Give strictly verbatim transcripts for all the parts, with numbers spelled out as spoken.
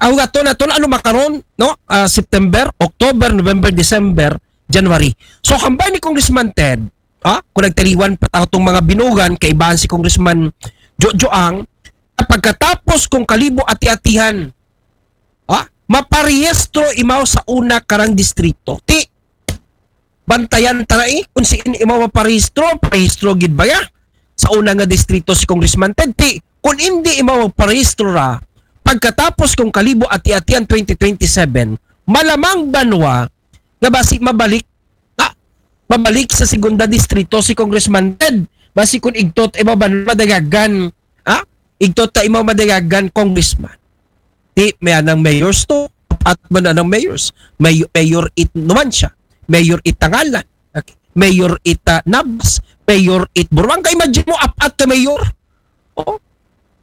Aw, ato na, ato na, ano makaron, no? Ah, September, October, November, December, January. So, hambal ni Congressman Ted, ha? Kung nagtaliwan pa ta tong mga binugan, kaibahan si Congressman Jojo Ang, pagkatapos kung kalibo ati-atihan, ha? Maparehistro imaw sa una karang distrito. Ti, bantayan ta na, eh, kung si imaw maparehistro, parehistro gid ba ya? Sa una nga distrito si Congressman Ted, ti, kung hindi imaw magparehistro ra, pagkatapos kung kalibo ati-atian twenty twenty-seven, malamang banwa nga basi mabalik, ah, mabalik sa segunda distrito si Congressman Ted. Basi kung igtot imaw banwa madagagan, ah, igtot ta imaw madagagan congressman. Di, may anang mayors to. Apat man anang mayors. May, mayor it Numancia, mayor it Tangalan, okay, mayor it, ah, Nabas, mayor it Buruanga. Imagine mo, apat ka mayor. Oh.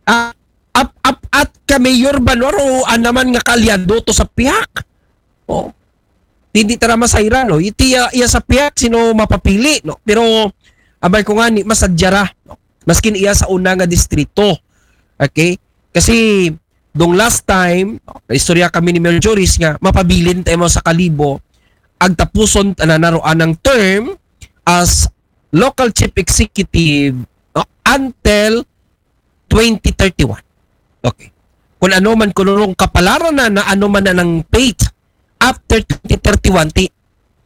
Ah, ap apat ka mayor ba, no? O, ah, naman nga kaalyado to sa pihak. Oh. Hindi tara masayra, no? Iti, ah, iya sa pihak, sino mapapili, no? Pero, abay ko nga ni, masadya ra, no? Maskin iya sa una nga distrito. Okay? Kasi, dong last time, no, naistorya kami ni Mayor Joris nga mapabilin tayo mo sa Kalibo, agtapuson na naroan ang term as local chief executive, no, until twenty thirty-one. Okay. Kung ano man, kung anong kapalaran na, na ano man na ng fate after twenty thirty-one, ti,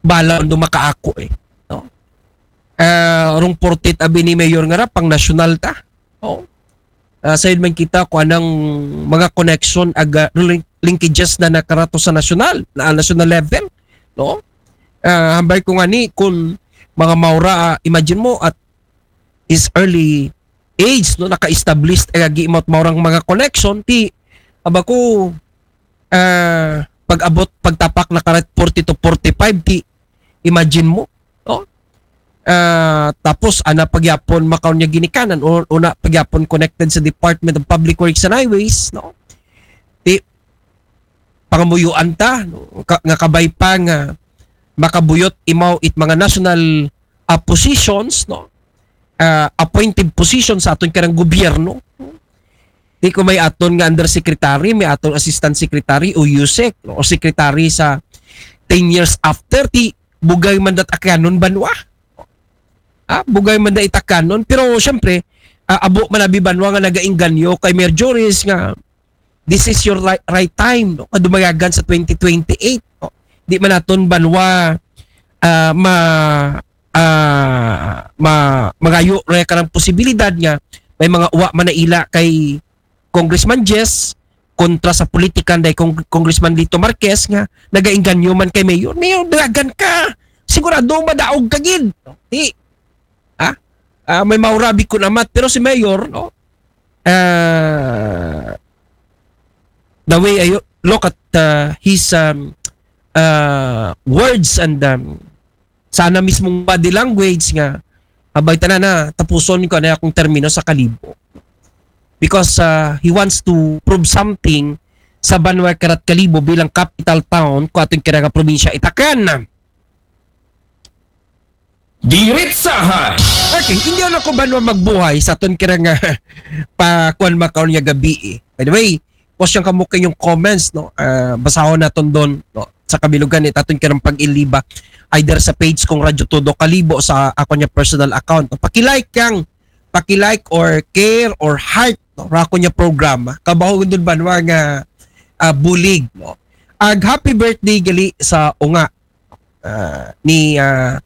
bala ang dumakaako eh. No? Ah, rong portit abi ni Mayor nga ra, pang nasyonal ta. Oh. Ah, sayod man kita kung anang mga connection, aga, link-, linkages na nakarato sa nasyonal, na national level, no? Ah, hambal ko nga ni, kung mga maura, ah, imagine mo, at his early age, no, naka-establish, eh, agi mo, maurang mga connection, ti, aba ko, ah, pag-abot, pagtapak na karat forty to forty-five, ti, imagine mo, no? Ah, tapos, ana pagyapon, makaon niya ginikanan, o, una pagyapon connected sa Department of Public Works and Highways, no? Ti, pangamuyuan ta, no? Ka-, nga kabay pa nga makabuyot imaw it mga national, ah, positions, no? Ah, appointed positions sa aton karang gobyerno. Di ko may aton nga undersecretary, may aton assistant secretary o usec, no? O secretary sa ten years after, ti bugay man dat akanon banwa. Ah, bugay man da itakanon. Pero, syempre, ah, abo man abi banwa nga nagainganyo kay Mayor Joris nga this is your right, right time, no? Nga dumayagan sa twenty twenty-eight, no? Di man naton banwa, ah, ma-, ah, ma-, magayo ra ka ng posibilidad nga may mga uwa man na ila kay Congressman Jess kontra sa politikan day Cong-, Congressman Lito Marquez nga nagainganyo man kay Mayor. Mayor, dagan ka. Sigurado madaog ka gid. Di. Ha? Ah, may maurabi ko namat, pero si Mayor, no? Ah, the way I look at, uh, his, um, uh, words and, um, sana mismong body language nga, abay, tanan na, tapuson ko na akong termino sa Kalibo. Because, uh, he wants to prove something sa Banwa Karat Kalibo bilang capital town ko aton kira nga probinsya Itacan. Diritsahan. Okay, hindi na ko banwa magbuhay sa aton kira nga pa kuan makaon nga gabi eh. By the way, post yung kamo kayong comments, no? Ah, basahon naton doon, no? Sa kabilugan ni taton kirang pag-iliba either sa page kong Radyo Todo Kalibo sa ako niya personal account. Paki-like kang, paki-like or care or heart, no? Ra ako niya programa. Kabaho doon banwa nga, ah, bulig, no? Ag happy birthday gali sa unga, ah, ni, ah,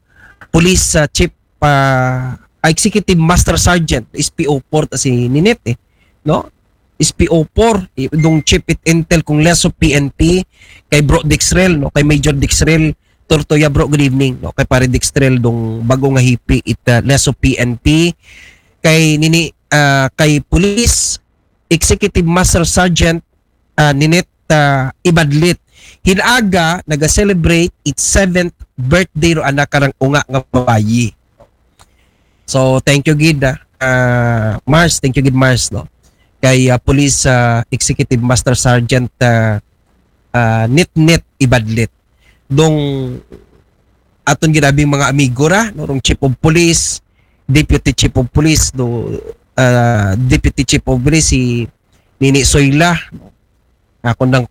Police, ah, Chief, ah, Executive Master Sergeant, S P O four ta si Ninit eh, no? S P O four, i-, dong Chief it Intel kong Leso P N P, kay Bro Dixrel, no? Kay Major Dixrel Tortoya, bro, good evening, no? Kay Pare Dixrel dong bago nga hipi it, ah, Leso P N P, kay nini, ah, kay Police Executive Master Sergeant, ah, Ninette, ah, Ibadlit. Hinaga naga-celebrate its seventh birthday ro anak karang unga nga babayi. So, thank you gid, ah, ah, Mars, thank you gid Mars, no. Kay, ah, Police, ah, Executive Master Sergeant, ah, ah, Nitnit Ibadlit. Dong aton ginabing mga amigo ra, no, rong Chief of Police, Deputy Chief of Police, do, ah, Deputy Chief of Police si Nini Soyla, no? Ako nang